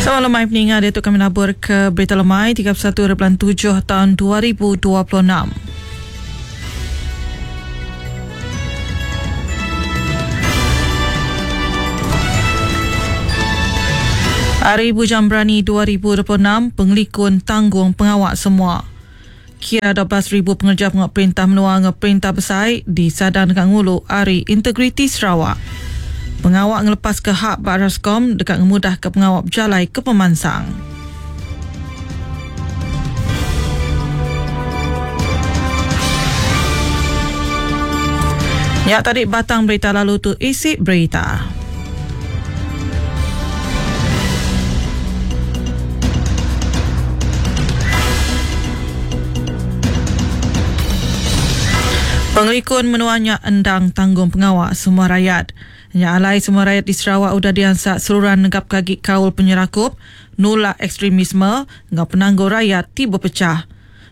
Selamat lemai peninga diatu kami nabur ke berita lemai 31 hari bulan 7 tahun 2026. Hari Bujang Berani 2026 pengelikun tanggung pengawa semua. Kira 12,000 pengereja pengawa perintah menua enggau perintah besai disadang deka ngulu Hari Integriti Sarawak. Pengawa ngelepaska hak ba Rascom deka ngemudahka pengawa bejalai ke pemansang. Nya tadi batang berita lalu tu isi berita. Pengelikun menua nya endang tanggung pengawa semua rayat. Nya alai semua rayat di Sarawak udah diansak seruran negapka agi kaul penyerakup, nulak ekstremisme enggau penanggul rayat ti bepechah.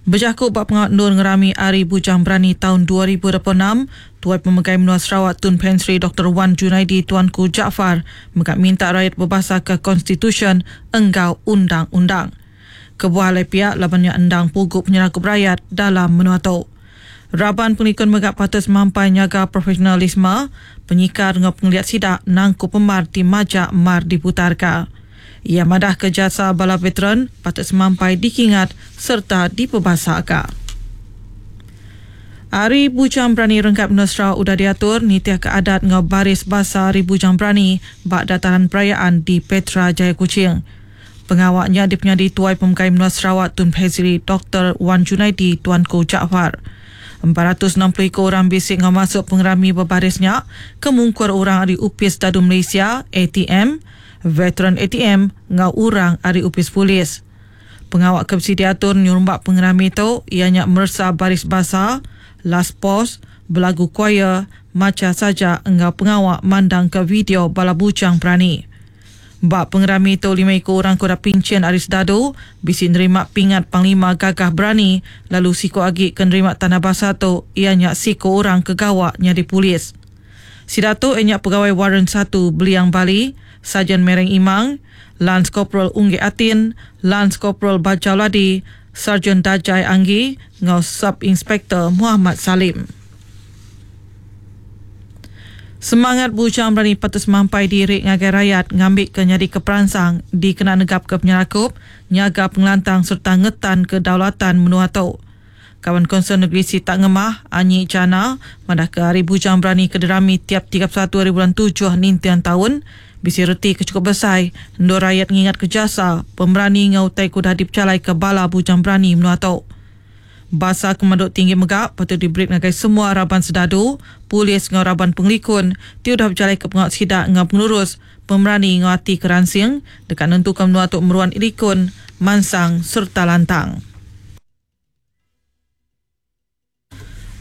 Bejaku ba pengawa endur ngerami Hari Bujang Berani taun 2026, Tuai Pemegai Menua Sarawak Tun Pehin Sri Doktor Wan Junaidi Tuanku Jaafar mega minta rayat bebasaka konstitusyen enggau undang-undang. Kebuah alai pia laban nya endang pugu penyerakup rayat dalam menua tu. Raban pengelikun mega patut semampai nyaga profesionalisme, penyikar enggau pengeliat sida nangkup pemar ti majak mar diputarka. Iya madahka jasa bala veteran patut semampai dikingat sereta dipebasaka. Hari Bujang Berani Renggat Menua Sarawak udah diatur nitihka adat enggau baris basa Hari Bujang Berani ba Dataran Perayaan di Petra Jaya Kuching. Pengawa nya dipenyadi Tuai Pemegai Menua Sarawak Tun Phezri Doktor Wan Junaidi Tuanku Jaafar. 460 iku orang bisi enggau masuk pengerami bebaris nya ke mungkur orang ari Opis Dadu Malaysia, ATM, Veteran ATM enggau orang ari opis polis. Pengawa ke bisi diatur nyerumba pengerami tu iya nya meresa baris basa, last post, belagu choir, macha saja enggau pengawa mandangka video bala bujang berani. Ba pengerami tu lima iku orang ke udah pinchin ari sedadu bisi nerima pingat Panglima Gagah Berani lalu siku agi ke nerima tanda basa tu iya nya siku orang ke gawa nyadi polis. Sida tu iya nya Pegawai Warren Satu Beliang Bali, Sarjan Mereng Imang, Lans Koperal Unggek Atin, Lans Koperal Bajau Ladi, Sarjan Dajai Anggi enggau Sub Inspektor Muhammad Salim. Semangat bujang berani patut semampai diri ngagai rayat ngambika nyadika peransang dikena negapka penyerakup, nyaga pengelantang sereta ngetanka kedaulatan menua tu. Kaban Konsul Negeri Sitak Ngemah, Anyi Jana, madahka Hari Bujang Berani ke dirami tiap 31 hari bulan tujuh ninting taun bisi reti ke chukup besai endur rayat ngingatka jasa, pemerani enggau utai ke udah dipejalaika bala bujang berani menua tu. Basa ke pemadu tinggi mega patut diberi ngagai semua raban sedadu, polis enggau raban pengelikun ti udah bejalaika pengawa sida enggau pengelurus, pemerani enggau ati ke ransing deka nentuka menua tu meruan likun, mansang sereta lantang.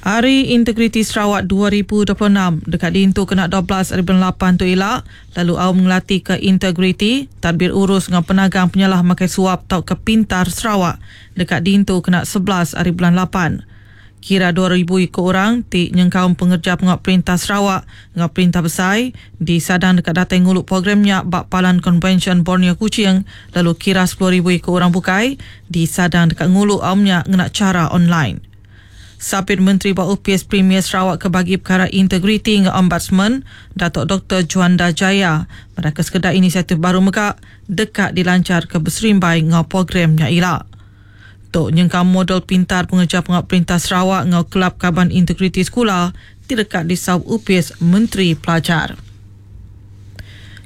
Hari Integriti Sarawak 2026 deka diintu kena 12 ari bulan lapan tu ila lalu aum ngelatika integriti, tadbir urus enggau penagang penyalah makai suap tauka Pintar Sarawak deka diintu kena 11 ari bulan lapan. Kira 2000 iku orang ti nyengkaum pengereja pengawa perintah Sarawak enggau perintah besai disadang deka datai ngulu program nya ba Palan Konvensyen Borneo Kuching lalu kira 10,000 iku orang bukai disadang deka ngulu aum nya ngena chara online. Sapit Menteri ba Opis Premier Sarawak ke Bagi Pekara Integriti enggau Ombudsman, Datuk Doktor Juanda Jaya madahka sekeda inisiatif baru mega deka dilancharka beserimbai enggau program nya ila. Tu nyengkaum model pintar pengereja pengawa perintah Sarawak enggau Kelab Kaban Integriti Sekula ti deka disaup Opis Menteri Pelajar.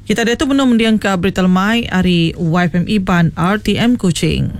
Kita diatu benung mendingka berita lemai ari YFM Iban RTM Kuching.